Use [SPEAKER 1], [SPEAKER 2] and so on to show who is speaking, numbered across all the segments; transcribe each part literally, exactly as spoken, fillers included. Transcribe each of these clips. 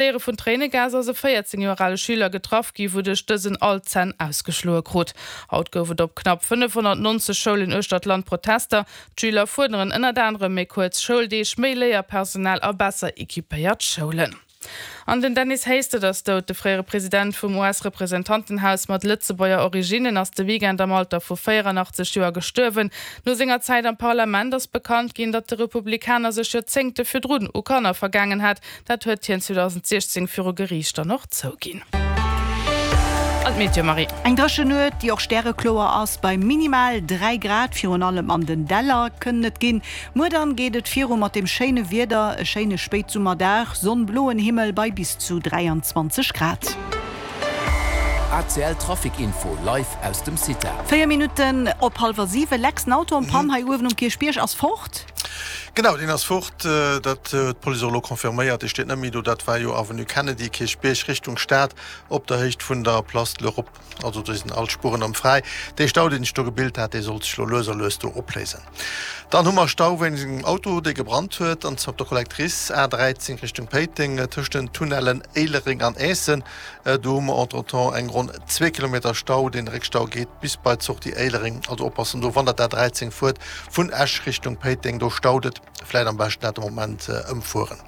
[SPEAKER 1] Explodéiere vun Tréinegas ass e véierzéng Joer ale Schüler getraff gi, wouduerch dësen all d'Zänn ausgeschloe krut. Haut gouf et op knapp fënnefhonnertnonzeg Schoulen uechter d'Land Protester. D'Schüler fuerderen ënnert anerem méi kuerz Schouldeeg, méi Léierpersonal a besser equipéiert Schoulen. An den Dennis Hastert ass dout. De fréiere President vum U S-Representantenhaus mat Lëtzebuerger Originnen ass de Weekend am Alter vu véieranachtzeeg Joer gestuerwen. No senger Zäit am Parlament ass bekannt ginn, datt de Republikaner sech Joerzéngte virdrun u Kanner vergaangen hat. Dat huet hien zweedausendsiechzéng viru Geriicht dann och zouginn. An d'Meteo, Marie.
[SPEAKER 2] Eng dréchen Nuet, déi och stärekloer ass, bei minimal dräi Grad, virun allem an den Däller kënnen et ginn. Muer dann geet et viru mat dem schéine Wieder, e schéine Spéitsummerdag, Sonn, bloen Himmel bei bis zu dräianzwanzeg Grad.
[SPEAKER 3] A C L Trafic Info live aus dem CITA.
[SPEAKER 2] Véier Minutten op hallwer siwen, Lex, den Auto en panne hei uewen um Kierchbierg ass fort.
[SPEAKER 4] Genau, deen ass fort. Dat huet d'Police och elo confirméiert. Dee steet net méi do. Dat war jo Avenue Kennedy, Kierchbierg, Richtung Stad, op der Héicht vun der Place de l'Europe. Also do sinn all d'Spueren erëm fräi. Dee Stau, deen sech do gebilt hat, dee sollt sech elo lues a lues do opléisen. Dann hu mer Stau wéinst engem Auto, dee gebrannt huet, an zwar op der Collectrice, A dräizéng Richtung Péiteng, tëscht den Tunnellen Éilereng an Aessen. Do hu mer entretemps eng ronn zwee Kilometer Stau. Dee Réckstau geet bis bei d'Sortie Éilereng. Also oppassen do, wann der d'A dräizéng fuert, vun Esch Richtung Péiteng, do staut et. Vläit am beschten dat de Moment ëmfueren.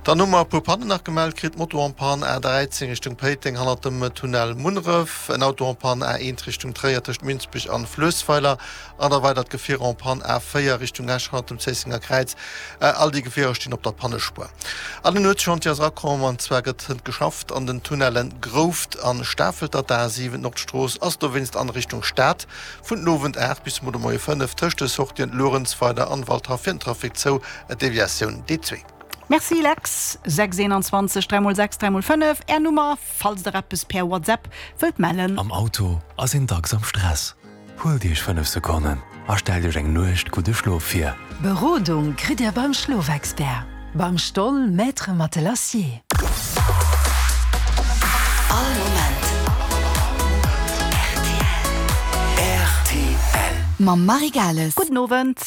[SPEAKER 4] Dann hu mer e puer Pannen nach gemellt kritt, Moto en panne A dräizéng Richtung Péiteng hannert dem Tunnel Munneref, en Auto en panne A eent Richtung Tréier tëscht Minsbech an Fluessweiler an da weidert Gefier en panne A véier Richtung Esch hannert dem Zéissenger Kräiz. All déi Gefierer stinn op der Pannespuer. An en Nuetschantier ass erakomm, an zwar gëtt hënt geschafft an den Tunnellen Grouft an Stafelter. D'A siwen Nordstrooss ass dowéinst an Richtung Stad vun den Owend aacht bis muer de Moie fënnef tëscht de Sortien Luerenzweiler an Waldhaff fir den Trafic zou, Deviatioun D zwee.
[SPEAKER 2] Merci Lex. Sechs eenanzwanzeg dräi mol sechs dräi mol fënnef, Är Nummer, falls der eppes per WhatsApp wëllt mellen.
[SPEAKER 5] Am Auto ass een dacks am Stress. Huelt Iech fënnef Sekonnen a stellt Iech eng Nuecht gudde Schlof vir.
[SPEAKER 6] Berodung kritt Dir beim Schlofexpert, beim Stoll Maître Matelassier.
[SPEAKER 7] All Moment rtl. Mam Marie Gales.
[SPEAKER 2] Gudden Owend.